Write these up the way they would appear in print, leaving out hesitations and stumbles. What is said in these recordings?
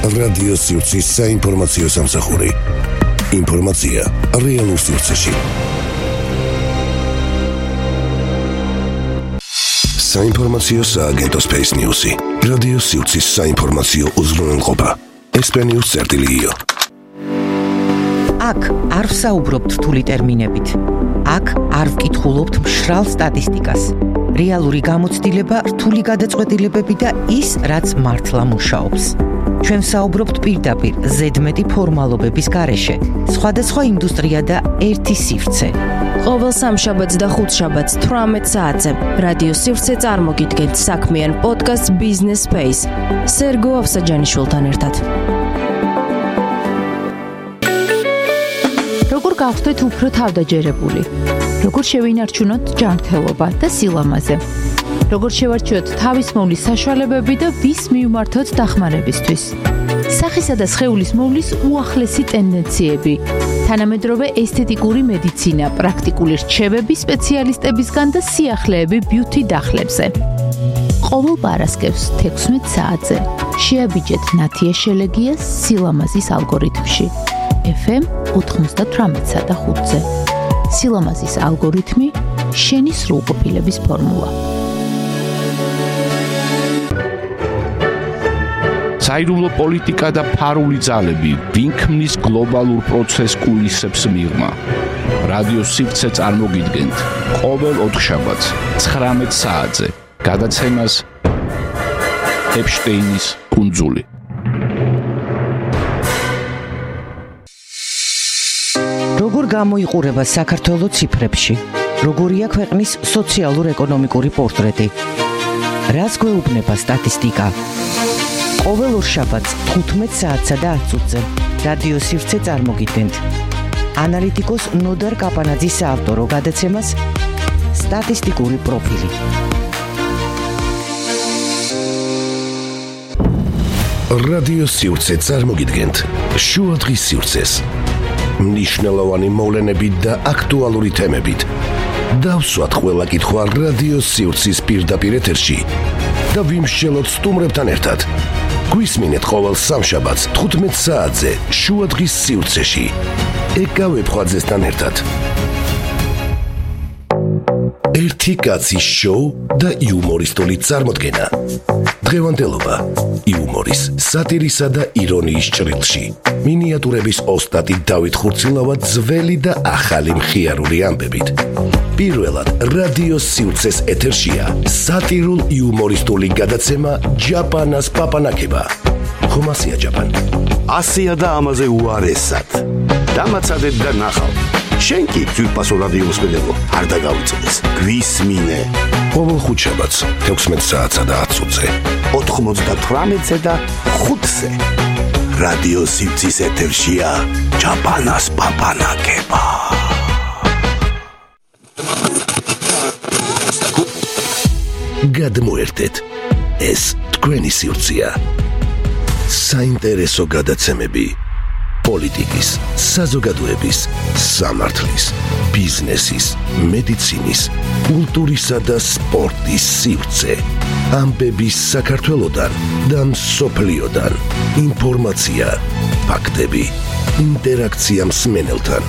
რადიო სივრცის საინფორმაციო სამსახური. ინფორმაცია რეალურ სივრცეში. საინფორმაციო სააგენტო Space News-ი. რადიო სივრცის საინფორმაციო უზრუნველყოფა. espen.io. აქ არ ვსაუბრობთ რთული ტერმინებით. აქ არ ვკითხულობთ მშრალ სტატისტიკას. რეალური გამოცდილება, რთული გადაწყვეტილებები და ის, რაც მართლა მუშაობს. ჩვენ ვსაუბრობთ პირდაპირ ზედმეტი ფორმალობების გარეშე. სხვადასხვა ინდუსტრია და ერთი სივრცე. ყოველ სამშაბათს და ხუთშაბათს 18 საათზე რადიო სივრცე წარმოგიდგენთ საქმიან პოდკასტ Business Space სერგო ავსაჯანიშვილთან ერთად. როგორ გავხდეთ უფრო თავდაჯერებული? როგორ შევინარჩუნოთ ჯანმრთელობა და სილამაზე? როგორ შევარჩიოთ თავის მოვლის საშუალებები და ვის მივმართოთ დახმარებისთვის? სახისა და სხეულის მოვლის უახლესი ტენდენციები, თანამედროვე ესთეტიკური მედიცინა, პრაქტიკული რჩევები სპეციალისტებისგან და სიახლეები ბიუთი დახლებზე. ყოველ პარასკევს 16 საათზე შეაბიჯეთ ნათია შელეგიას სილამაზის ალგორითმში. FM 98 და 5-ზე. სილამაზის ალგორითმი, შენი სრულყოფილების ფორმულა. საიდუმლო პოლიტიკა და ფარული ძალები ვინ ქმნის გლობალურ პროცესს კულისებს მიღმა. რადიო სივრცე წარმოგიდგენთ ყოველ ოთხშაბათს 19 საათზე გადაცემას ეპშტეინის კუნძული. როგორ გამოიყურება საქართველოს ციფრებში? როგორია ქვეყნის სოციალურ-ეკონომიკური პორტრეტი? რას გვეუბნება სტატისტიკა? ყოველ ორშაბათს 15 საათსა და 10 წუთზე რადიო სივრცე წარმოგიდგენთ ანალიტიკოს ნოდარ კაპანაძის საავტორო გადაცემას სტატისტიკური პროფილი. რადიო სივრცე წარმოგიდგენთ შუადღის სივრცეს. მნიშვნელოვანი მოვლენები და აქტუალური თემებით. დავსვათ ყველა კითხვა რადიო სივრცის პირდაპირ ეთერში და ვიმსჯელოთ სტუმრებთან ერთად. გვისმინეთ ყოველ სამშაბათს 15 საათზე შუადღის სივრცეში. ეკავებ ხვაძესთან ერთად. ერთი კაცის შოუ და იუმორისტული წარმოდგენა. დღევანდელობა იუმორის, სატირისა და ირონიის ჭრილში. მინიატურების ოსტატი დავით ხურცილავა ძველი და ახალი მხიარული ამბებით. პირველად რადიო სივრცეს ეთერშია სატირულ-იუმორისტული გადაცემა ჯაპანას პაპანაკება. ხომასია ჯაპან. ასია და ამაზე უარესად. დამაცადეთ და ნახავ. შენ კი ძვირფასო რადიო მსმენელო, არ დაგავიწყდეს. გვისმინე. ყოველ ხუთშაბათს 16 საათსა და 10 წუთზე. 98-ზე და 5-ზე. რადიო სივრცის ეთერშია ჯაპანას პაპანაკება. გადმოერთეთ. ეს თქვენი სივრცეა. საინტერესო გადაცემები პოლიტიკის, საზოგადოების, სამართლის, ბიზნესის, მედიცინის, კულტურისა და სპორტის სივრცე. ამბების საქართველოდან და მსოფლიოდან. ინფორმაცია, ფაქტები, ინტერაქცია მსმენელთან.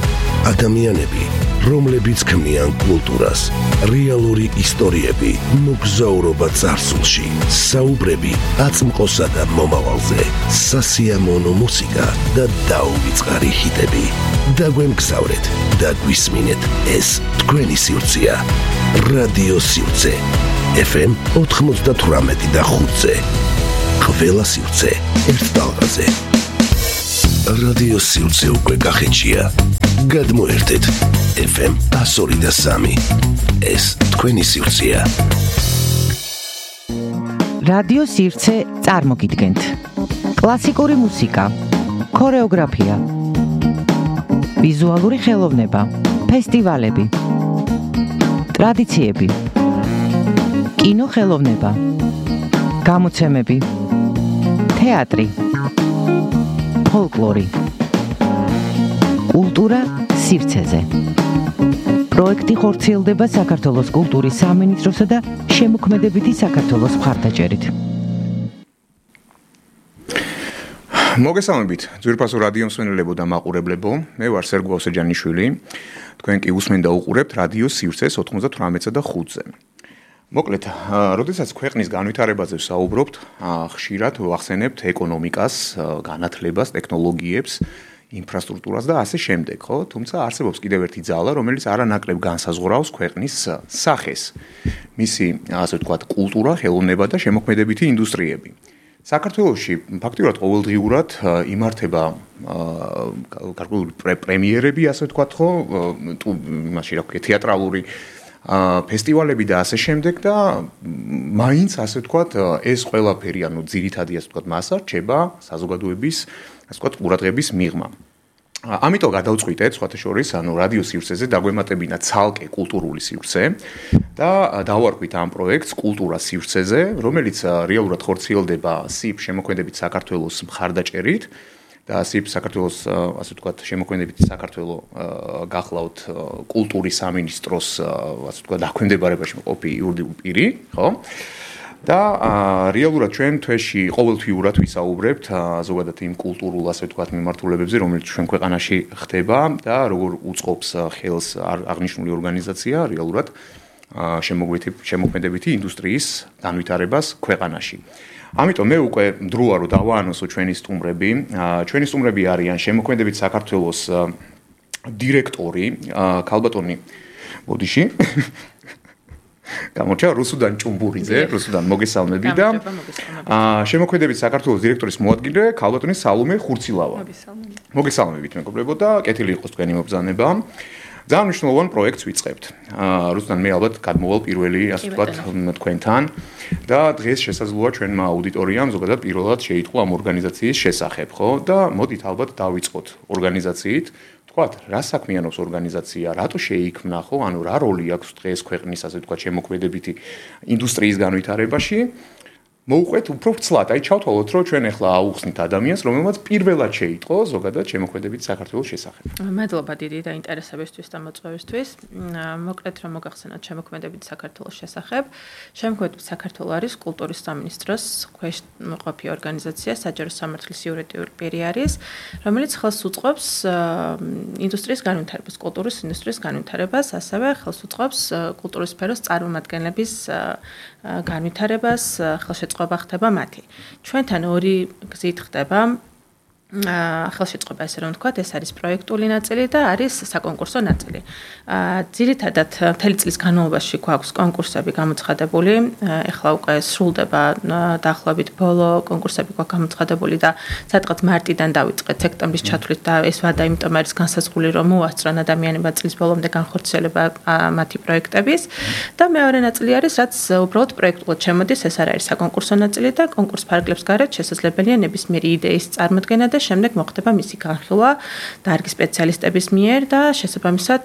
ადამიანები, რომლებიც ქმნიან კულტურას, რეალური ისტორიები, მოგზაურობა წარსულში, საუბრები აწმყოსა და მომავალზე, სასიამოვნო მუსიკა და დაუვიწყარი ჰიტები. დაგვემგზავრეთ და გვისმინეთ, ეს თქვენი სივრცეა. რადიო სივრცე. FM 98 და 5-ზე. ყველა სივრცე ერთ ტალღაზე. რადიო სივრცე უკვე გახეთშია. გადმოერთეთ. FM 102 და 3. ეს თქვენი სივრცეა. რადიო სივრცე წარმოგიდგენთ კლასიკური მუსიკა, ქორეოგრაფია, ვიზუალური ხელოვნება, ფესტივალები, ტრადიციები, კინოხელოვნება, გამოცემები, თეატრი, ფოლკლორი, კულტურა სივრცეზე. პროექტი ხორციელდება საქართველოს კულტურის სამინისტროსა და შემოქმედებითი საქართველოს მხარდაჭერით. მოგესალმებით, ძვირფასო რადიო მსმენელებო და მაყურებლებო. მე ვარ სერგო ავსეჯანიშვილი. თქვენ კი უსმენთ და უყურებთ რადიო სივრცეს 98-ზე და 5-ზე. მოკლედ, როდესაც ქვეყნის განვითარებაზე ვსაუბრობთ, ხშირად ვახსენებთ ეკონომიკას, განათლებას, ტექნოლოგიებს, ინფრასტრუქტურას და ასე შემდეგ, ხო? თუმცა არსებობს კიდევ ერთი ძალა, რომელიც არანაკლებ განსაზღვრავს ქვეყნის სახეს. მისი, ასე ვთქვათ, კულტურა, ხელოვნება და შემოქმედებითი ინდუსტრიები. საქართველოში ფაქტიურად ყოველდღიურად იმართება გარკვეული პრემიერები, ასე ვთქვათ, ხო, იმაში რა ქვია, თეატრალური ფესტივალები და ასე შემდეგ და მაინც ასე ვთქვათ, ეს ყველაფერი, ანუ ძირითადი ასე ვთქვათ, მასა რჩება საზოგადოების, ასე ვთქვათ, ყურადღების მიღმა. ამიტომ გადავწყვიტეთ, სხვათა შორის, ანუ რადიო სივრცეზე დაგვემატებინა ცალკე კულტურული სივრცე და დავარქვით ამ პროექტს კულტურა სივრცეზე, რომელიც რეალურად ხორციელდება SIP შემოქმედებით საქართველოს მხარდაჭერით და SIP საქართველოს, ასე ვთქვათ, შემოქმედებით საქართველოს გახლავთ კულტურის სამინისტროს, ასე ვთქვათ, დაქვემდებარებაში მყოფი იურიდიული პირი, ხო? და რეალურად ჩვენ თვეში ყოველთვიურად ვისაუბრებთ ზოგადად იმ კულტურულ, ასე ვთქვათ, მიმართულებებზე, რომელიც ჩვენ ქვეყანაში ხდება და როგორ უწყობს ხელს აღნიშნული ორგანიზაცია რეალურად შემოქმედებითი ინდუსტრიის განვითარებას ქვეყანაში. ამიტომ მე უკვე მდროა რომ დავაანონსო ჩვენი სტუმრები. ჩვენი სტუმრები არიან შემოქმედებით საქართველოს დირექტორი ქალბატონი ბოდიში გამორჩა რუსუდან ჭუმბურიძე, რუსუდან მოგესალმები და შემოქმედებით საქართველოს დირექტორის მოადგილე ქალბატონი სალომე ხურცილავა. მოგესალმებით მეგობრებო და კეთილი იყოს თქვენი მობრძანება. ძალიან მნიშვნელოვან პროექტს ვიწყებთ. რუსუდან მე ალბათ გადმოვალ პირველი, ასე ვთქვათ, თქვენთან და დღეს შესაძლოა ჩვენმა აუდიტორიამ ზოგადად პირველად შეიტყო ამ ორგანიზაციის შესახებ, ხო? და მოდით ალბათ დავიწყოთ ორგანიზაციით. თქვათ, რა საქმიანობს ორგანიზაცია, რატო შეიქმნა, ხო? ანუ რა როლი აქვს დღეს ქვეყნის, ასე ვთქვათ, შემოქმედებითი ინდუსტრიის განვითარებაში? მოუყვეთ უფრო ვცლად, აი ჩავთვალოთ, რომ ჩვენ ახლა აუხსნით ადამიანს, რომელმაც პირველად შეიტყო ზოგადად შემოქმედებით საქართველოს შესახებ. მადლობა დიდი დაინტერესებისთვის და მოწვევისთვის. მოკლედ რომ მოგახსენოთ შემოქმედებით საქართველოს შესახებ. შემოქმედებით საქართველოს არის კულტურის სამინისტროს ქვეშ მყოფი ორგანიზაცია, საჯარო სამართლის იურიდიული პირი არის, რომელიც ხელს უწყობს ინდუსტრიის განვითარებას, კულტურის ინდუსტრიის განვითარებას, ასევე ხელს უწყობს კულტურის სფეროს წარმომადგენლების განვითარებას, ხელშეწყობა ხდება მათი. ჩვენთან ორი გზით ხდება ხელშეწყობა, ესე რომ ვთქვათ, ეს არის პროექტული ნაწილი და არის საკონკურსო ნაწილი. ძირითადად მთელი წლის განმავლობაში გვაქვს კონკურსები გამოცხადებული. ეხლა უკვე სრულდება დაახლოებით ბოლო კონკურსები გვაქვს გამოცხადებული და სადღაც მარტიდან დავიწყეთ სექტემბრის ჩათვლით და ეს ვადა იმიტომ არის განსაზღვრული, რომ მოასწრონ ადამიანებმა წლის ბოლომდე განხორციელება მათი პროექტების და მეორე ნაწილი არის, რაც უბრალოდ პროექტულად შემოდის, ეს არის საკონკურსო ნაწილი და კონკურს ფარგლებს გარეთ შესაძლებელია ნებისმიერი იდეის წარმოქმნა და შემდეგ მოხდება მისი განხილვა დარგის სპეციალისტების მიერ და შესაბამისად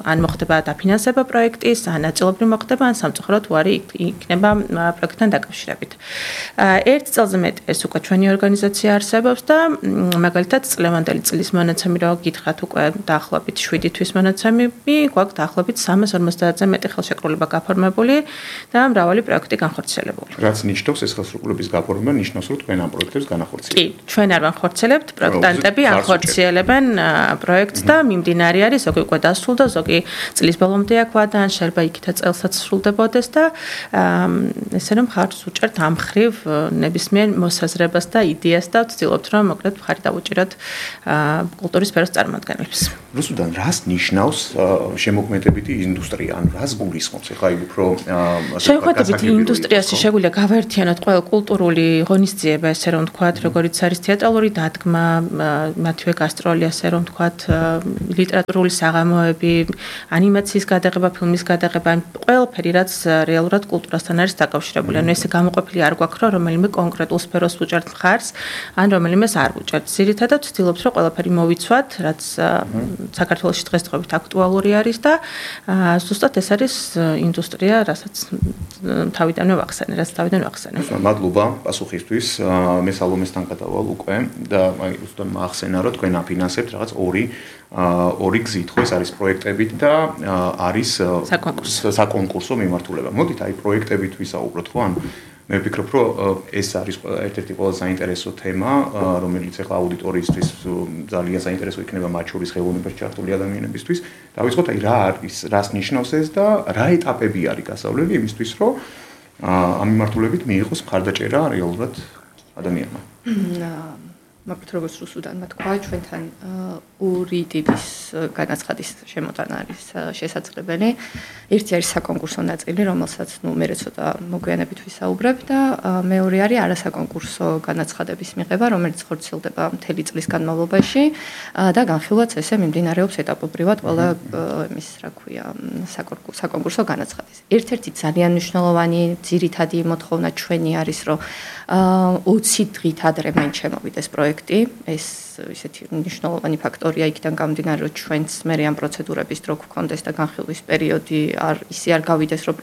ან მოხდება დაფინანსება პროექტის, ან ნაწილობრივ მოხდება, ან სამწუხაროდ უარი იქნება პროექტთან დაკავშირებით. ერთ წელზე მეტი ეს უკვე ჩვენი ორგანიზაცია არსებობს და მაგალითად წლევანდელი წლის მონაცემი რო გითხრათ უკვე დაახლოებით 7 თვის მონაცემები, გვაქვს დაახლოებით 350-ზე მეტი ხელშეკრულება გაფორმებული და მრავალი პროექტი განხორციელებული. რაც ნიშნავს ეს ხელშეკრულების გაფორმება, ნიშნავს რომ თქვენ ამ პროექტებს განახორციელებთ. კი, ჩვენ არ ვანხორციელებთ, პროექტანტები ახორციელებენ პროექტს და მიმდინარე არის, ზოგი უკვე დასრულდა, ზოგი წლის ბოლომდე აქ ვადა, ან შეიძლება იქითაც წელსაც სრულდებოდეს და ესე რომ ხარჯს უჭერთ ამ ხრივ ნებისმიერ მოსაზრებას და იდეას და ვცდილობთ რომ მოკლედ ხარი დავუჭიროთ კულტურის სფეროს წარმომადგენლებს. რუსუდან რას ნიშნავს შემოქმედებითი ინდუსტრია, ან რას გულისხმობს? ეხლა უფრო შემოქმედებითი ინდუსტრიაში შეგვიძლია გავაერთიანოთ ყველა კულტურული ღონისძიება, ესე რომ ვთქვათ, როგორიც არის თეატრალური დადგმა, მათივე გასტროლი, ასე რომ ვთქვათ, ლიტერატურული საღამოები, ანიმაციის გადაღება, ფილმის გადაღება, ყველაფერი, რაც რეალურად კულტურასთან არის დაკავშირებული. ანუ ესე გამოყოფილი არ გვაქვს, რომ რომელიმე კონკრეტულ სფეროს უჭერთ მხარს, ან რომელიმეს არ უჭერთ. ძირითადად ვცდილობთ, რომ ყველაფერი მოვიცვათ, რაც საქართველოში დღესდღეობით აქტუალური არის და ზუსტად ეს არის ინდუსტრია, რასაც თავიდანვე ვახსენე, რაც თავიდან ვახსენე. მადლობა პასუხისთვის. მე სალომესთან გადავალ უკვე და აი უბრალოდ მახსენა რომ თქვენ აფინანსებთ რაღაც ორი გზით, ხო, ეს არის პროექტებით და არის საკონკურსო მიმართულება. მოდით აი პროექტებით ვისაუბროთ, ხო, ან მე ვფიქრობ, რომ ეს არის ერთ-ერთი ყველაზე საინტერესო თემა, რომელიც ახლა აუდიტორიისთვის ძალიან საინტერესო იქნება მათ შორის ხელოვნებაში ჩართული ადამიანებისთვის. დავიწყოთ აი რა არის, რას ნიშნავს ეს და რა ეტაპები არის გასავლელი იმისთვის, რომ ამ მიმართულებით მიიღოს მხარდაჭერა რეალურად ადამიანმა. მაგრამ როგორც რუსუდანმა თქვა, ჩვენთან ორი ტიპის განაცხადის შემოტანა არის შესაძლებელი. ერთი არის საკონკურსო ნაწილი, რომელსაც მე ცოტა მოგვიანებით ვისაუბრებ და მეორე არის არასაკონკურსო განაცხადების მიღება, რომელიც ხორციელდება მთელი წლის განმავლობაში და განხილვაც ესე მიმდინარეობს ეტაპობრივად ყველა იმის, რა ქვია, საკონკურსო განაცხადის. ერთ-ერთი ძალიან მნიშვნელოვანი ძირითადი მოთხოვნა ჩვენი არის, რომ 20 დღით ადრე მან შემოვიდეს პროექტი. ეს ისეთი მნიშვნელოვანი ფაქტორია იქიდან გამომდინარე, რომ ჩვენც მე ამ პროცედურების დრო გვქონდეს და განხილვის პერიოდი არ გავიდეს, რომ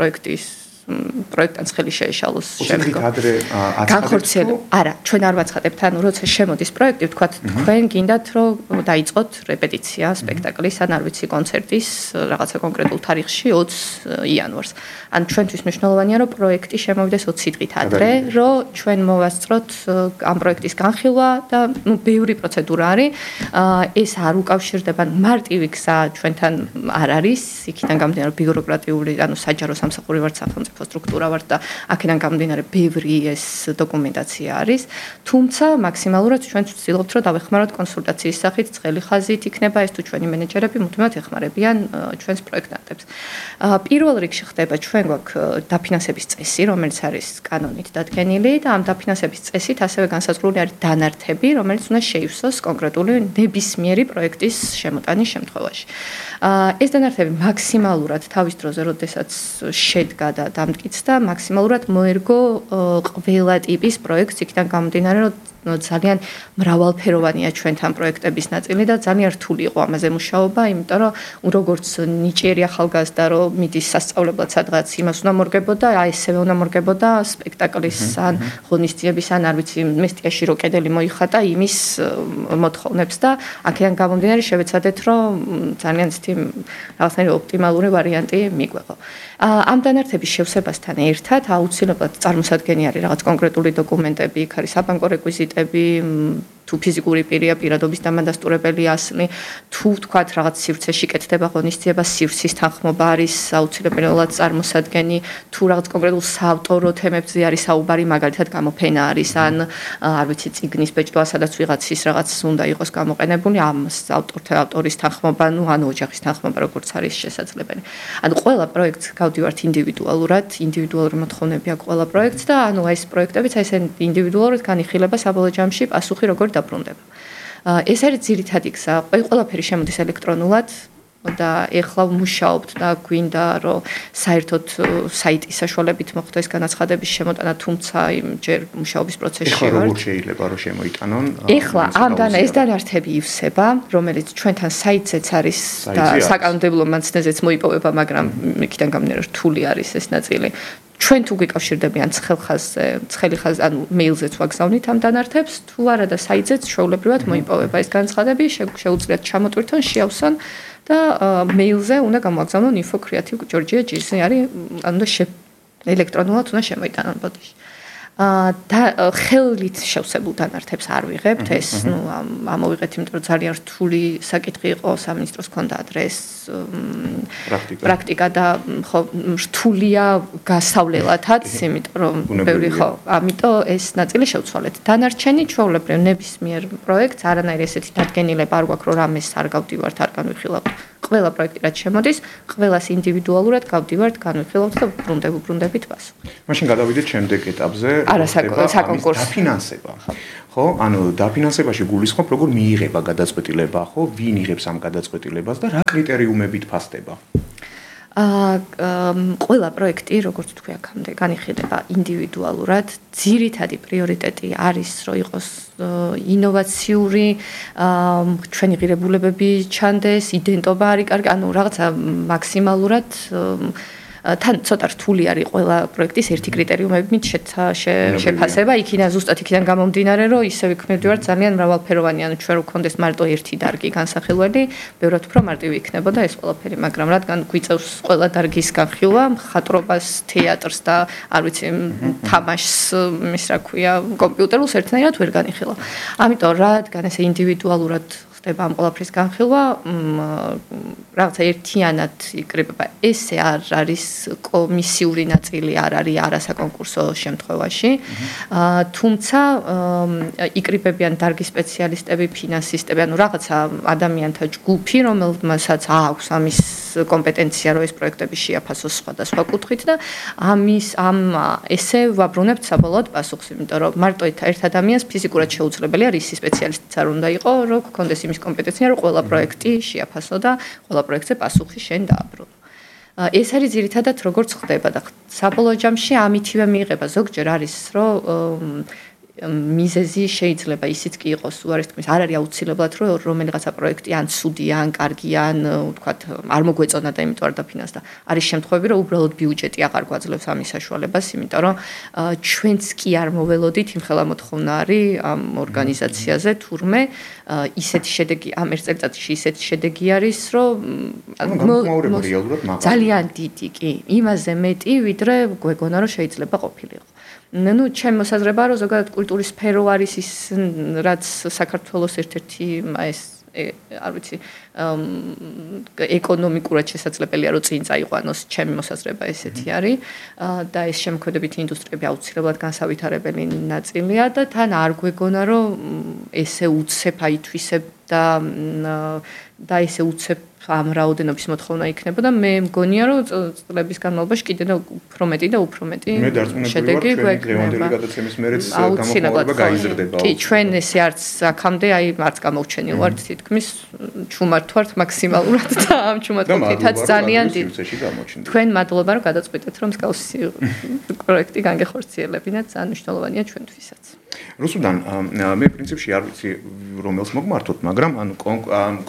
პროექტთან ხელი შეეშალოს შემდგომ. განხორციელო. არა, ჩვენ არ ვაცხადებთ, ანუ როცა შემოდის პროექტი, ვთქვათ, თქვენ გინდათ, რომ დაიწყოთ რეპეტიცია სპექტაკლის, ან არ ვიცი, კონცერტის რაღაცა კონკრეტულ თარიღში 20 იანვარს. ან ჩვენთვის მნიშვნელოვანია, რომ პროექტი შემოვიდეს 20 დღით ადრე, რომ ჩვენ მოვასწროთ ამ პროექტის განხილვა და ბევრი პროცედურა არის. ეს არ უკავშირდება მარტივი გზა ჩვენთან არ არის, იქიდან გამომდინარე ბიუროკრატიული, ანუ საჯარო სამსახური ვართ სახელმწიფო სტრუქტურა ვართ და აქედან გამომდინარე ბევრი ეს დოკუმენტაცია არის, თუმცა მაქსიმალურად ჩვენ ვცდილობთ, რომ დავეხმაროთ კონსულტაციის სახით, ცხელი ხაზით იქნება ეს თუ ჩვენი მენეჯერები მუდმივად ეხმარებიან ჩვენს პროექტანტებს. პირველ რიგში ხდება ჩვენ გვაქვს დაფინანსების წესი, რომელიც არის კანონით დადგენილი და ამ დაფინანსების წესით ასევე განსაზღვრული არის დანართები, რომელიც უნდა შეივსოს კონკრეტული ნებისმიერი პროექტის შემოტანის შემთხვევაში. ეს დანართები მაქსიმალურად თავის დროზე, როდესაც შედგა და დამტკიცდა, მაქსიმალურად მოერგო ყველა ტიპის პროექტს, იქიდან გამომდინარე, რომ ძალიან მრავალფეროვანია ჩვენთან პროექტების ნაწილი და ძალიან რთული იყო ამაზე მუშაობა, იმიტომ რომ როგორც ნიჭიერი ახალგაზრდა რომ მიდის სასწავლებლად სადღაც იმას უნდა მორგებოდა, ესევე უნდა მორგებოდა სპექტაკლის ან ღონისძიების ან არ ვიცი მესტიაში რო კედელი მოიხატა იმის მოთხოვნებს და აქედან გამომდინარე შევეცადეთ რომ ძალიან ცივი რაღაცნაირი ოპტიმალური ვარიანტი მიგვეღო. ამ დანართების შევსებასთან ერთად აუცილებლად წარმოსადგენი არის რაღაც კონკრეტული დოკუმენტები, იქ არის საბანკო რეკვიზიტები, თუ ფიზიკური პირია პირადობის დამადასტურებელი ასლი, თუ თქვათ რაღაც სივრცეში კეთდება ღონისძიება, სივრცის თანხმობა არის აუცილებლად წარმოსადგენი, თუ რაღაც კონკრეტულ საავტორო თემებზე არის საუბარი, მაგალითად გამოფენა არის, ან არ ვიცი, წიგნის ბეჭდვა, სადაც ვიღაცის რაღაც უნდა იყოს გამოყენებული, ამ ავტორის თანხმობა, ან ოჯახის თანხმობა, როგორც არის შესაძლებელი. ანუ ყველა პროექტს გავდივართ ინდივიდუალურად, ინდივიდუალური მოთხოვნები აქვს ყველა პროექტს და ანუ ეს პროექტებიც აი ეს ინდივიდუალურად განიხილება საბოლოო ჯამში პასუხი როგორ დაბრუნდება. ეს არის ძირითადი გზა. ყველაფერი შემოდის ელექტრონულად და ეხლა ვმუშაობთ და გვინდა რომ საერთოდ საიტის საშუალებით მოხდეს განაცხადების შემოტანა, თუმცა ჯერ მუშაობის პროცესში ვართ. ეხლა როგორ შეიძლება რომ შემოიტანონ? ეხლა ეს დანართები ივსება, რომელიც ჩვენთან საიტზეც არის და საკანონმდებლო მანცნეზეც მოიპოვება, მაგრამ იქიდან გამომდინარე რთული არის ეს ნაწილი. ჩვენ თუ გიკავშირდებიან ცხელი ხაზზე, ანუ მეილზეც ვაგზავნით ამ დანართებს, თუ არა და საიტზეც ჩვეულებრივად მოიპოვება ეს განაცხადები, შეუძლიათ ჩამოტვირთონ, შეავსონ და მეილზე უნდა გამოაგზავნონ info@creative.georgia.gr-ზე არის, ანუ ელექტრონულად უნდა შემოიტანონ ბოდიში. და ხელით შევსებულ დანართებს არ ვიღებთ, ეს ამოვიღეთ, იმიტომ რომ ძალიან რთული საკითხი იყო, სამინისტროს ჰქონდა ადრეს პრაქტიკა და ხო რთულია გასავლელათაც, იმიტომ რომ ბევრი ხო, ამიტომ ეს ნაწილი შევცვალეთ. დანარჩენი ჩვეულებრივ ნებისმიერ პროექტს არანაირი ესეთი დადგენილება არ გვაქვს, რომ რამეს არ გავდივართ, არ განვიხილავთ. ყველა პროექტი რაც შემოდის, ყველას ინდივიდუალურად გავდივართ, განვიხილავთ და ვბრუნდებით პასუხი. მაშინ გადავიდეთ შემდეგ ეტაპზე. საკონკურსო დაფინანსება. ხო, ანუ დაფინანსებაში გულისხმობ, როგორ მიიღება გადაწყვეტილება, ხო, ვინ იღებს ამ გადაწყვეტილებას და რა კრიტერიუმებით ფასდება? ყველა პროექტი, როგორც თქვი აქამდე, განიხილება ინდივიდუალურად. ძირითადი პრიორიტეტი არის, რომ იყოს ინოვაციური, ჩვენი ღირებულებები ჩანდეს, იდენტობა არის კარგი, ანუ რაღაცა მაქსიმალურად თან ცოტა რთული არის ყველა პროექტის ერთი კრიტერიუმებით შეფასება. იქიდან გამომდინარე, რომ ისე ვიქმნებდივართ ძალიან მრავალფეროვანი, ანუ ჩვენ ვქონდეს მარტო ერთი დარგი განსახილველი, ბევრად უფრო მარტივი იქნებოდა ეს ყველაფერი, მაგრამ რადგან გვიწევს ყველა დარგის განხილვა, მხატვრობას, თეატრს და არ ვიცი, თამაშს, ის რა ქვია, კომპიუტერულს ერთნაირად ვერ განიხილავ. ამიტომ რადგან ესე ინდივიდუალურად ხდება ამ ყველაფრის განხილვა, რაღაცა ერთიანად იკრიბება. ესე არ არის კომისიური ნაწილი, არ არის არასაკონკურსო შემთხვევაში. თუმცა იკრიბებიან დარგის სპეციალისტები, ფინანსისტები, ანუ რაღაცა ადამიანთა ჯგუფი, რომელმასაც აქვს ამის კომპეტენცია, რომ ეს პროექტები შეაფასოს სხვადასხვა კუთხით და ესე ვაბრუნებთ საბოლოოდ პასუხს, იმიტომ რომ მარტო ერთ ადამიანს ფიზიკურად შეუძლებელია რისი სპეციალისტიც არ უნდა იყო, რომ გქონდეს იმის კომპეტენცია, რომ ყველა პროექტი შეაფასო და ყველა პროექტზე პასუხი შენ დააბრუნო. ეს არის ძირითადად როგორც ხდება და საბოლოო ჯამში ამითივე მიიღება. ზოგჯერ არის, რომ მიზეზი შეიძლება ისიც კი იყოს, უარეს თქმის, არ არის აუცილებლად, რომ რომელიღაცა პროექტი ან ცუდია, ან კარგია, ან ვთქვათ, არ მოგვეწონა და იმიტომ არ დაფინანსდა. არის შემთხვევები, რომ უბრალოდ ბიუჯეტი აღარ გვაძლევს ამის საშუალებას, იმიტომ რომ ჩვენც კი არ მოველოდით იმხელა მოთხოვნა არის ამ ორგანიზაციაზე, თურმე ისეთი შედეგი ამ ერთ წელიწადში ისეთი შედეგი არის, რომ ძალიან დიდი კი, იმაზე მეტი, ვიდრე გვეგონა, რომ შეიძლება ყოფილიყო. ნუ ჩემ მოსაზრება რომ ზოგადად კულტურის სფერო არის ის რაც საქართველოს ერთ-ერთი ეს არ ვიცი ეკონომიკურად შესაძლებელია რომ წინ წაიყვანოს ჩემი მოსაზრება ესეთი არის და ეს შემოქმედებითი ინდუსტრიები აუცილებლად განსავითარებელი ნაწილია და თან არ გვეგონა რომ ესე უცებ აითვისებ და ესე უცებ ამ რაოდენობის მოთხოვნა იქნებოდა მე მგონია რომ წლების განმავლობაში კიდე და უფრო მეტი და უფრო მეტი შედეგი გვექნება გადაცემის მერეც გამოხმაურება გაიზრდება კი ჩვენ ესე არც აქამდე აი არც გამოუჩენილ ვართ თითქმის ჩუმართ ვართ მაქსიმალურად და ამ ჩუმართითაც ძალიან დიდ თქვენ მადლობა რომ გადაწყვიტეთ რომ მსგავსი პროექტი განგეხორციელებინათ ძალიან მნიშვნელოვანია ჩვენთვისაც რუსუდან მე პრინციპში არ ვიცი რომელს მოგმართოთ მაგრამ ანუ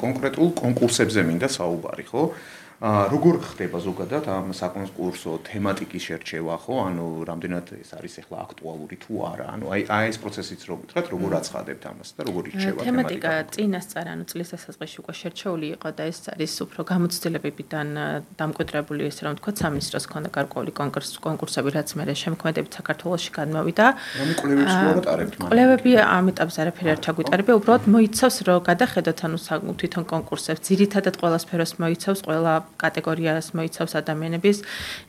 კონკრეტულ კონკურსებზე მინდა საუბარი ხო როგორ ხდება ზოგადად ამ საკონკურსო თემატიკის შერჩევა ხო ანუ რამდენად ეს არის ახლა აქტუალური თუ არა ანუ აი ეს პროცესიც რო გითხრათ როგორ აცხადებთ ამას და როგორ ირჩევა თემატიკა წინასწარ ანუ წლის დასაწყისში უკვე შერჩეული იყო და ეს არის უფრო გამოცდილებებიდან დამკვიდრებული ესე რომ ვთქვათ სამინისტროს ქონდა გარკვეული კონკურსები რაც მე შემოქმედებით საქართველოში გადმოვიდა კვლევები ამ ეტაპზე არაფერი არ ჩაგვიტარებია უბრალოდ მოიცავს რომ გადახედოთ ანუ თვითონ კონკურსებს ძირითადად ყველა სფეროს მოიცავს ყველა კატეგორიას მოიცავს ადამიანების.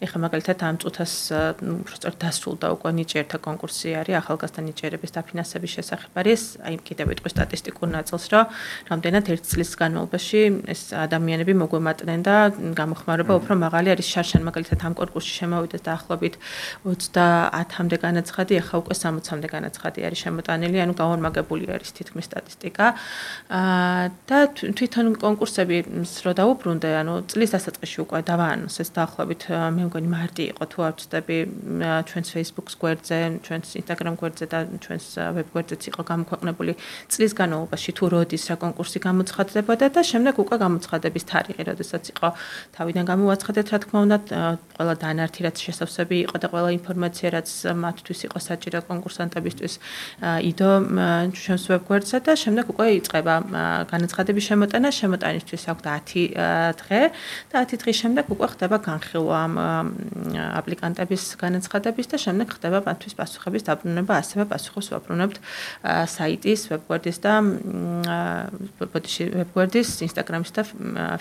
ეხლა მაგალითად ამ წუთას უბრალოდ დასრულდა უკვე ნიჭიერთა კონკურსი არის ახალგაზრდა ნიჭიერების დაფინანსების შესახებ არის. აი კიდევ ვიტყვი სტატისტიკურ ნაწილს, რომ რამდენად ერთ წლის განმავლობაში ეს ადამიანები მოგვემატნენ და გამოხმაურება უფრო მაღალი არის შარშან მაგალითად ამ კონკურსში შემოვიდეს დაახლოებით 30-მდე განაცხადი, ეხლა უკვე 60-მდე განაცხადი არის შემოტანილი, ანუ გაორმაგებული არის თითქმის სტატისტიკა. და თვითონ კონკურსები რო დაუბრუნდე, ანუ წლის დასაწყისში უკვე დავაანონს ეს დაახლოებით მე მგონი მარტი იყო თუ არ ვცდები ჩვენს Facebook-ს გვერდზე, ჩვენს Instagram გვერდზე და ჩვენს web გვერდზეც იყო გამოქვეყნებული წლის განმავლობაში თუ როდის რა კონკურსი გამოცხადდებოდა და შემდეგ უკვე გამოცხადების თარიღი, როდესაც იყო თავიდან გამოაცხადეთ რა თქმა უნდა ყველა დანართი რაც შესავსები იყო და ყველა ინფორმაცია რაც მათთვის იყო საჭირო კონკურსანტებისთვის იდო ჩვენს web გვერდზე და შემდეგ უკვე იწყება განაცხადების შემოტანა, შემოტანისთვის აქვს 10 დღე და 10 დღის შემდეგ უკვე ხდება განხილვა ამ აპლიკანტების განაცხადების და შემდეგ ხდება მათთვის პასუხების დაბრუნება, ასევე პასუხებს ვაბრუნებთ საიტის, ვებგვერდის და ვებგვერდის, Instagram-ის და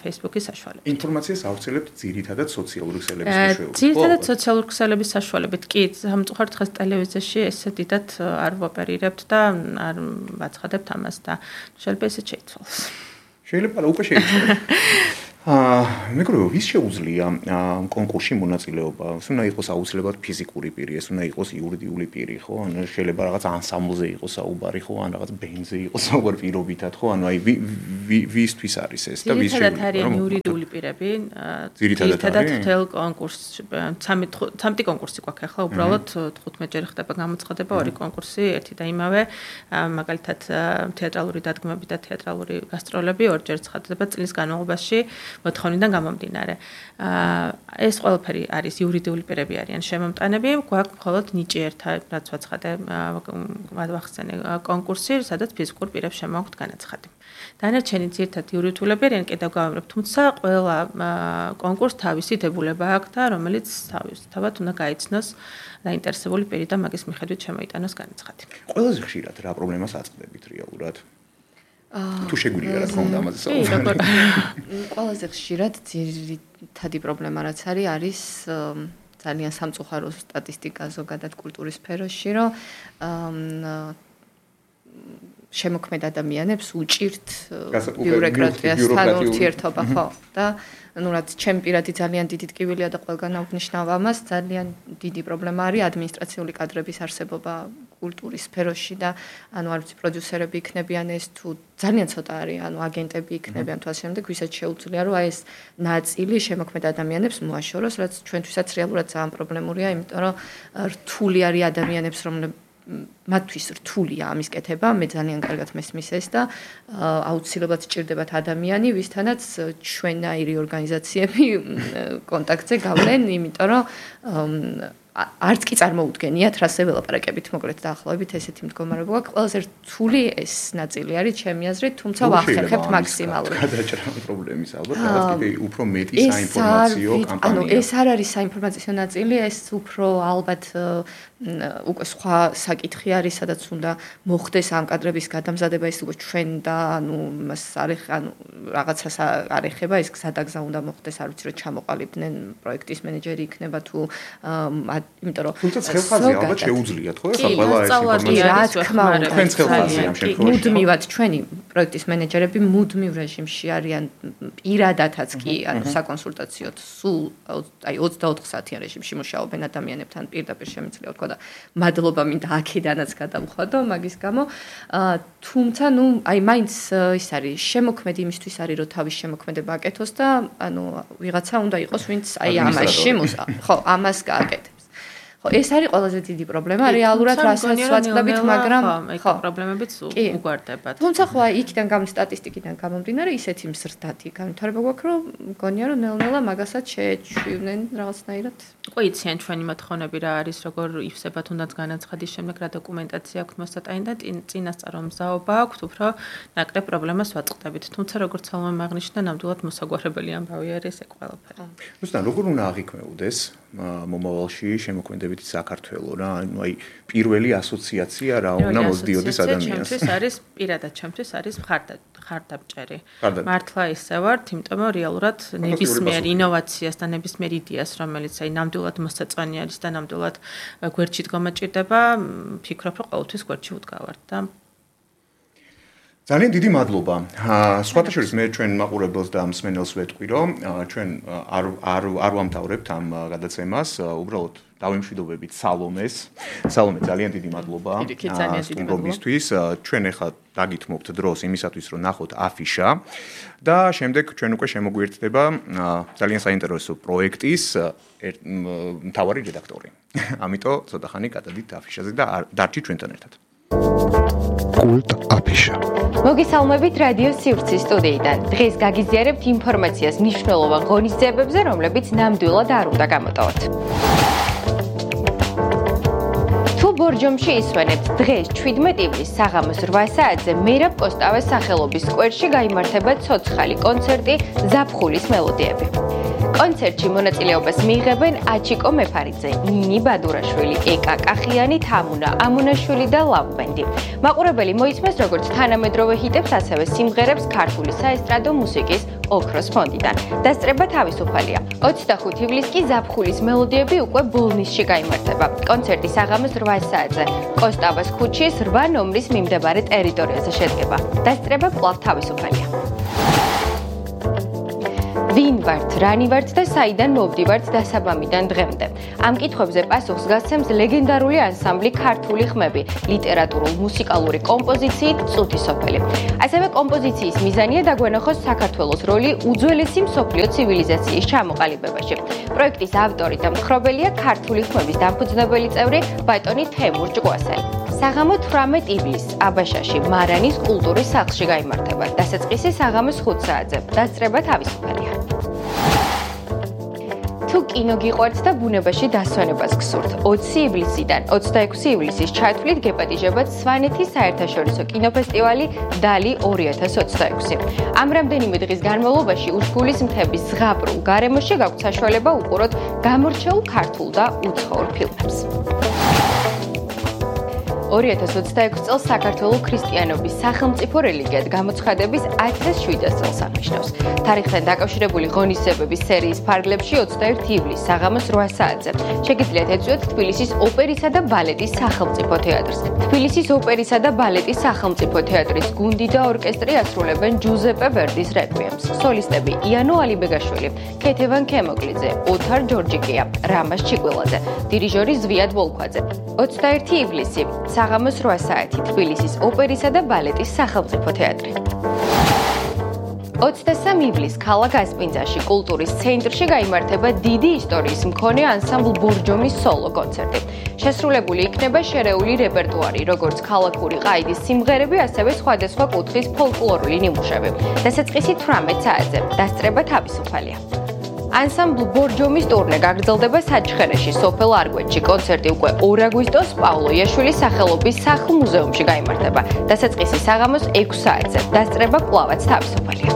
Facebook-ის საშუალებით. ინფორმაციას ავრცელებთ ძირითადად სოციალური ქსელების საშუალებით. ძირითადად სოციალური ქსელების საშუალებით. კი, სამწუხაროდ დღეს ტელევიზიაში ესე დიდად არ ვოპერირებთ და არ ვაცხადებთ ამას და შეიძლება ესე შეიცვალოს. შეიძლება უკვე შეიცვალოს. მეგროვო ვის შეუძლია კონკურსში მონაწილეობა? უნდა იყოს აუცილებლად ფიზიკური პირი, ეს უნდა იყოს იურიდიული პირი, ხო? ანუ შეიძლება რაღაც ანსამბლზე იყოს საუბარი, ხო? ან რაღაც ბენდზე იყოს საუბარი პირობითად, ხო? ანუ აი ვისთვის არის ეს და ვის შეუძლია? ძირითადად არიან იურიდიული პირები. ძირითადად მთელ კონკურსში 13 კონკურსი გვაქვს ახლა, უბრალოდ 15 ჯერ ხდება გამოცხადება, ორი კონკურსი, ერთი და იმავე, მაგალითად თეატრალური დადგმები და თეატრალური გასტროლები ორჯერ ცხადდება წლის განმავლობაში. მოთხოვნიდან გამომდინარე. ეს ყველაფერი არის იურიდიული პირები არიან შემომტანები, გვაქვს მხოლოდ ნიჭი ერთა, რაც ვაცხადე, ვახსენე კონკურსი, სადაც ფიზიკურ პირებს შემოაქვთ განაცხადი. დანარჩენი ძირითადად იურიდიულები არიან, კიდევ გავამრებ, თუმცა ყველა კონკურსს თავისი დებულება აქვს და რომელიც თავად უნდა გაიცნოს დაინტერესებული პირი და მაგის მიხედვით შემოიტანოს განაცხადი. ყველაზე ხშირად რა პრობლემას აწყდებით რეალურად? თუ შეგვიძლია რა თქმა უნდა ამაზე საუბარი. ყველაზე ხშირად ძირითადი პრობლემა რაც არის ძალიან სამწუხარო სტატისტიკა ზოგადად კულტურის სფეროში, რომ შემოქმედ ადამიანებს უჭირთ ბიუროკრატიასთან ურთიერთობა, ხო? და რაც ჩემ პირადი ძალიან დიდი ტკივილია და ყველგან აღნიშნავ ამას, ძალიან დიდი პრობლემა არის ადმინისტრაციული კადრების არსებობა კულტურის სფეროში და არ ვიცი პროდიუსერები იქნებიან ეს თუ ძალიან ცოტა არის, აგენტები იქნებიან თუ ასე შემდეგ, ვისაც შეუძლია რომ ეს ნაწილი შემოქმედ ადამიანებს მოაშოროს, რაც ჩვენთვისაც რეალურად ძალიან პრობლემურია, იმიტომ რომ რთული არის ადამიანებს მათთვის რთულია ამის კეთება, მე ძალიან კარგად მესმის ეს და აუცილებლად სჭირდებათ ადამიანი, ვისთანაც ჩვენაირი ორგანიზაციები კონტაქტზე გავლენ, იმიტომ რომ არც კი წარმოუდგენიათ რასე ველაპარაკებით, მოკლედ დაახლოებით ესეთი მდგომარეობა გვაქვს. ყველაზე რთული ეს ნაწილი არის ჩემი აზრით, თუმცა ვახერხებთ მაქსიმალურად. გადაჭრა პრობლემის ალბათ, რაღაც კიდე უფრო მეტი საინფორმაციო კამპანია. ეს არ არის საინფორმაციო ნაწილი, ეს უფრო ალბათ უკვე სხვა საკითხი არის, სადაც უნდა მოხდეს ამ კადრების გადამზადება, ეს უკვე ჩვენ და მას რაღაცას არ ეხება, ეს გზადაგზა უნდა მოხდეს, არ ვიცი, რომ ჩამოყალიბდნენ პროექტის მენეჯერი იქნება თუ იმიტომ რომ თუმცა ხელხაზი ალბათ შეუძლიათ, ხო? ეხლა ყველა ეს ინფორმაცია რა თქმა უნდა, თქვენ ხელხაზი ამ შემთხვევაში. მუდმივად ჩვენი პროექტის მენეჯერები მუდმივ რეჟიმში არიან პირადადაც კი, საკონსულტაციოდ სულ 24 საათიან რეჟიმში მუშაობენ ადამიანებთან პირდაპირ შემიძლია ვთქვა და მადლობა მინდა აქედანაც გადავხვადო მაგის გამო. თუმცა მაინც ის არის შემოქმედი იმისთვის არის რომ თავის შემოქმედება აკეთოს და ვიღაცა უნდა იყოს ვინც ამაში ხო ამას გააკეთებს. ხო ეს არის ყველაზე დიდი პრობლემა რეალურად რასაც ვაწყდებით, მაგრამ ხო პრობლემებიც უგვარდებათ. თუმცა ხო იქიდან სტატისტიკიდან გამომდინარე ისეთი მზრდადი განვითარება გვაქვს, რომ მგონია რომ ნელ-ნელა მაგასაც შეეჩვივნენ რაღაცნაირად. უკვე იციან ჩვენი მოთხოვნები რა არის, როგორ ივსებათ უნდაც განაცხადის შემდეგ რა დოკუმენტაცია აქვს მოსატანი და წინასწარ მზაობა აქვს, უფრო ნაკლებ პრობლემას ვაწყდებით. თუმცა როგორც ალმა აღნიშნა, ნამდვილად მოსაგვარებელი ამბავი არის ეს ყველაფერი. ზუსტად როგორ უნდა აღიქმეუდეს მომავალში შემოქმედებითი საქართველო რა, აი პირველი ასოციაცია რა უნდა მოსდიოდეს ადამიანს. ჩემთვის არის პირადად ჩემთვის არის მხარდამჭერი. მართლა ისე ვართ, იმიტომ რომ რეალურად ნებისმიერ ინოვაციას და ნებისმიერ იდეას, რომელიც აი ნამდვილად მოსაწონი არის და ნამდვილად გვერდში დგომა ჭირდება, ფიქრობ რომ ყოველთვის გვერდში ვდგავართ და ძალიან დიდი მადლობა. სხვათა შორის მე ჩვენ მაყურებელს და მსმენელს ვეთქვი, რომ ჩვენ არ ვამთავრებთ ამ გადაცემას, უბრალოდ დავემშვიდობებით სალომეს. სალომე, ძალიან დიდი მადლობა სტუმრობისთვის. ჩვენ ახლა დაგითმობთ დროს იმისათვის, რომ ნახოთ αφიშა და შემდეგ ჩვენ უკვე შემოგვიერთდება ძალიან საინტერესო პროექტის მთავარი რედაქტორი. ამიტომ ცოტა ხანი გადადით αφიშაზე და დარჩით ჩვენთან ერთად. კულტ აფიშა. მოგესალმებით რადიო სივრცის სტუდიიდან. დღეს გაგიზიარებთ ინფორმაციას მნიშვნელოვან ღონისძიებებზე, რომლებიც ნამდვილად არ უნდა გამოტოვოთ. თუ ბორჯომში ისვენებთ, დღეს 17 ივლისს საღამოს 8 საათზე მერაბ კოსტავეს სახელობის სკვერში გაიმართება ცოცხალი კონცერტი ზაფხულის მელოდიები. კონცერტში მონაწილეობას მიიღებენ აჩიკო მეფარიძე, ნინი ბადურაშვილი, ეკა კახიანი, თამუნა ამუნაშვილი და ლავბენდი. მაყურებელი მოისმენს როგორც თანამედროვე ჰიტებს, ასევე სიმღერებს ქართული საესტრადო მუსიკის ოქროს ფონდიდან. დასწრება თავისუფალია. 25 ივლისს კი ზაფხულის მელოდიები უკვე ბოლნისში გაიმართება. კონცერტი საღამოს 8 საათზე კოსტავას ქუჩის 8 ნომრის მიმდებარე ტერიტორიაზე შედგება. დასწრება კვლავ თავისუფალია. ვინ ვართ, რანი ვართ და საიდან მოვდივართ დასაბამიდან დღემდე. ამ კითხვებზე პასუხს გასცემს ლეგენდარული ანსამბლი ქართული ხმები, ლიტერატურულ-მუსიკალური კომპოზიციით წუთი სოფელი. ასევე კომპოზიციის მიზანია დაგვენახოს საქართველოს როლი უძველესი მსოფლიო ცივილიზაციის ჩამოყალიბებაში. პროექტის ავტორი და მხრობელია ქართული ხმების დამფუძნებელი წევრი ბატონი თემურ ჭკვასელი. საღამო 18 ივლისს აბაშაში მარანის კულტურის სახლში გაიმართება. დასაწყისი საღამოს 5 საათზე. დასწრება თავისუფალია. კინო გიყვართ და ბუნებაში დასვენებას გსურთ. 20 ივლისიდან 26 ივლისის ჩათვლით გეპატიჟებათ სვანეთის საერთაშორისო კინოფესტივალი დალი 2026. ამ რამდენიმე დღის განმავლობაში უშგულის მთების ზღაპრულ გარემოში გაქვთ საშუალება უყუროთ გამორჩეულ ქართულ და უცხოურ ფილმებს. 2026 წელს საქართველოს ქრისტიანობის სახელმწიფო რელიგიად გამოცხადების 1700 წელს აღნიშნავს. თარიღთან დაკავშირებული ღონისძიებების სერიის ფარგლებში 21 ივლისს საღამოს 8 საათზე შეგიძლიათ ეწვიოთ თბილისის ოპერისა და ბალეტის სახელმწიფო თეატრს. თბილისის ოპერისა და ბალეტის სახელმწიფო თეატრის გუნდი და ორკესტრი ასრულებენ ჯუზეპე ვერდის რეკვიემს. სოლისტები იანო ალიბეგაშვილი, ქეთევან ქემოკლიძე, ოთარ ჯორჯიკია, რამაზ ჩიკვილაძე, დირიჟორი ზვიად ვოლქვაძე. 21 ივლისი საღამოს 8 საათი თბილისის ოპერისა და ბალეტის სახელმწიფო თეატრი. 23 ივლისს ქალაქ ასპინძაში კულტურის ცენტრში გაიმართება დიდი ისტორიის მქონე ანსამბლ ბორჯომის სოლო კონცერტი. შესრულებული იქნება შერეული რეპერტუარი, როგორც ქალაქური ყაიდის სიმღერები, ასევე სხვადასხვა კუთხის ფოლკლორული ნიმუშები. დასაწყისი 18 საათზე დასწრება თავისუფალია. ანსამბლ ბორჯომის ტურნე გაგრძელდება საჩხერეში, სოფელ არგვეთში. კონცერტი უკვე 2 აგვისტოს პავლო იაშვილის სახელობის სახლ-მუზეუმში გაიმართება. დასაწყისი საღამოს 6 საათზე. დასწრება კვლავაც თავისუფალია.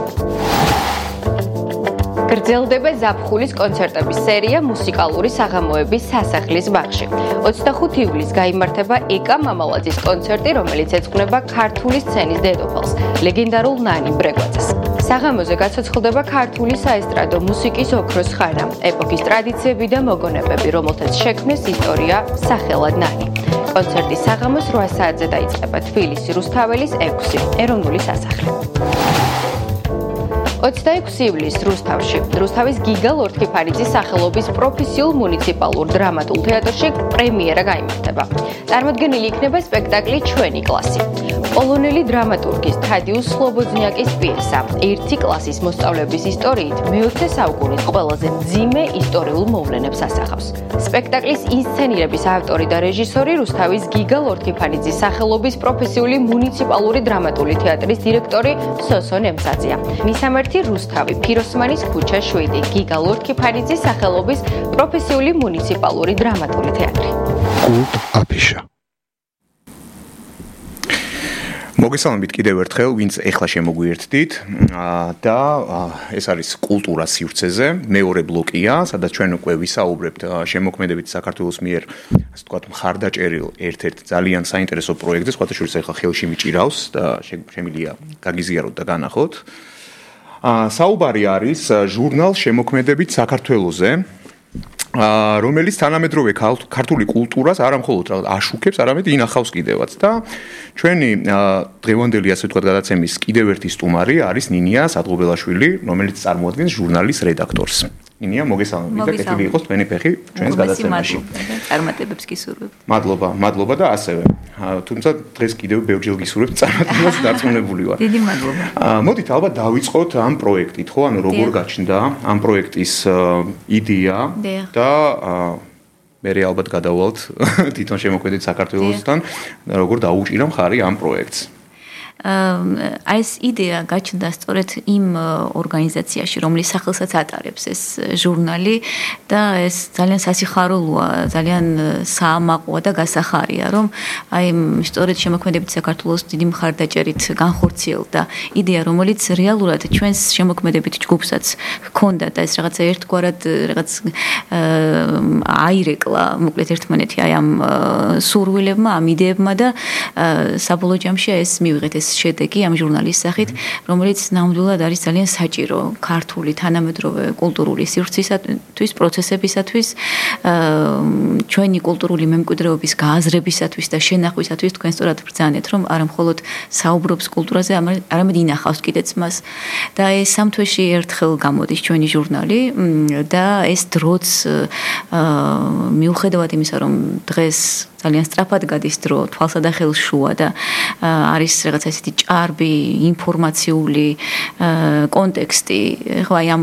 გრძელდება ზაფხულის კონცერტების სერია მუსიკალური საღამოების სასახლის ბაღში. 25 ივლისს გაიმართება ეკა მამალაძის კონცერტი, რომელიც ეძღვნება ქართული სცენის დედოფალს, ლეგენდარულ ნანი ბრეგვაძეს. საღამოზე გაცოცხლდება ქართული საესტრადო მუსიკის ოქროს ხანა, ეპოქის ტრადიციები და მოგონებები, რომელთაც შექმნეს ისტორია სახელად ნანი. კონცერტი საღამოს 8 საათზე დაიწყება თბილისი რუსთაველის 6 ეროვნული სასახლე. 26 ივლისს რუსთავში, რუსთავის გიგა ლორთქიფანიძის სახელობის პროფესიულ მუნიციპალურ დრამატულ თეატრში პრემიერა გაიმართება. წარმოდგენილი იქნება სპექტაკლი ჩვენი კლასი. პოლონელი დრამატურგის თადიუს სლობოდნიაკის პიესა, ერთი კლასის მოსწავლეების ისტორიით მე-20 საუკუნის ყველაზე მძიმე ისტორიულ მოვლენებს ასახავს. სპექტაკლის ინსცენირების ავტორი და რეჟისორი რუსთავის გიგა ლორთქიფანიძის სახელობის პროფესიული მუნიციპალური დრამატული თეატრის დირექტორი სოსო ნემცაძეა. მისამართი რუსთავი, ფიროსმანის ქუჩა 7, გიგა ლორთქიფანიძის სახელობის პროფესიული მუნიციპალური დრამატული თეატრი. კულტ აფიშა. მოგესალმებით კიდევ ერთხელ, ვინც ეხლა შემოგვიერთდით და ეს არის კულტურა სივრცეზე, მეორე ბლოკია, სადაც ჩვენ უკვე ვისაუბრებთ შემოქმედებით საქართველოს მიერ, ასე ვთქვათ, მხარდაჭერილ ერთ-ერთ ძალიან საინტერესო პროექტზე, სხვათა შორის ეხლა ხელში მიჭირავს და შემიძლია გაგიზიაროთ და განახოთ. საუბარი არის ჟურნალ შემოქმედებით საქართველოზე, რომელიც თანამედროვე ქართული კულტურას არა მხოლოდ აშუქებს, არამედ ინახავს კიდევაც და ჩვენი დღევანდელი ასე ვთქვათ გადაცემის კიდევ ერთი სტუმარი არის ნინია სადღობელაშვილი, რომელიც წარმოადგენს ჟურნალის რედაქტორს. ნინია, მოგესალმებით და კეთილი იყოს თქვენი ფეხი ჩვენს გადაცემაში. წარმატებებს გისურვებ. მადლობა და ასევე. თუმცა დღეს კიდევ ბევრჯერ გისურვებთ წარმატებას დარწმუნებული ვარ. დიდი მადლობა. მოდით ალბათ დავიწყოთ ამ პროექტით, ხო? ანუ როგორ გაჩნდა ამ პროექტის იდეა და მე ალბათ გადავალთ თვითონ შემოქმედებით საქართველოსთან, როგორ დაუჭირა მხარი ამ პროექტს. ეს იდეა გაჩნდა სწორედ იმ ორგანიზაციაში, რომლის სახელსაც ატარებს ეს ჟურნალი და ეს ძალიან სასიხარულოა, ძალიან საამაყოა და გასახარია, რომ აი სწორედ შემოქმედებით საქართველოს დიდი მხარდაჭერით განხორციელდა იდეა, რომელიც რეალურად ჩვენს შემოქმედებით ჯგუფსაც ჰქონდა და ეს რაღაცა ერთგვარად რაღაც აირეკლა, მოკლედ ერთმანეთი აი ამ სურვილებმა, ამ იდეებმა და საბოლოო ჯამში ეს მივიღეთ ეს შედეგი ამ ჟურნალის სახით, რომელიც ნამდვილად არის ძალიან საჭირო ქართული თანამედროვე კულტურული სივრცისათვის, პროცესებისათვის, ჩვენი კულტურული მემკვიდრეობის გააზრებისათვის და შენახვისათვის. თქვენ სწორად ბრძანეთ, რომ არა მხოლოდ საუბრობს კულტურაზე, არამედ ინახავს კიდეც მას. და ეს სამ თვეში ერთხელ გამოდის ჩვენი ჟურნალი და ეს დროც მიუხედავად იმისა, რომ დღეს ძალიან სწრაფად გადის დრო, თვალსა და ხელს შუა და არის რაღაცა ისეთი ჭარბი ინფორმაციული კონტექსტი. ხო, აი ამ